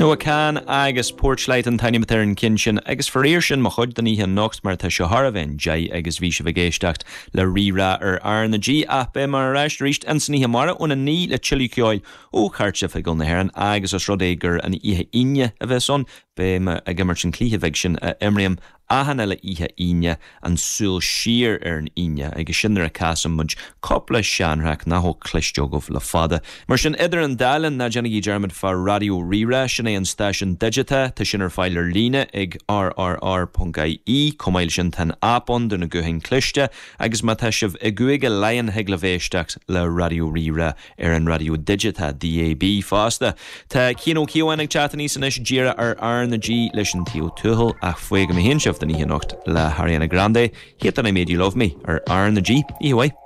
Noah Kahan agus Porchlight an t-ainm atá ar an gceann sin agus faraor sin mo chuid don oíche anocht mar tá sé chóir a bheith an 10 agus bhí sibh ag éisteacht le Rí-Rá ar R na G ach beidh mé ar ais arís ins an oíche amárach óna 9 le tuilleadh ceoil ó Chairt Oifigiúil na hÉireann agus os rud é gur an oíche Aoine a bheas ann beidh mé ag imirt an cluiche bheag sin a imrím achan uile oíche Aoine, an súil siar ar an Aoine, agus sin nuair a casann muid cúpla seanthraic nach bhfuil cloiste agaibh le fada. Mar sin, idir an dá linn, ná déanaigí dearmad fá Raidió Rí-Rá, sin é an stáisiún digiteach, tá sin ar fáil ar líne ag rrr.ie, chomh maith leis sin tá an aip ann do na gutháin cliste, agus má tá sibh i gCúige Laighean thig libh éisteacht le Raidió Rí-Rá ar an raidió digiteach, DAB, fosta. Tá Cian Ó Cíobháin ag teacht aníos anois díreach ar R na G leis An Taobh Tuathail ach fágfaidh mé féin sibh don oíche anocht le hAriana Grande, Hate That I Made You Love Me ar R na G. Oíche mhaith.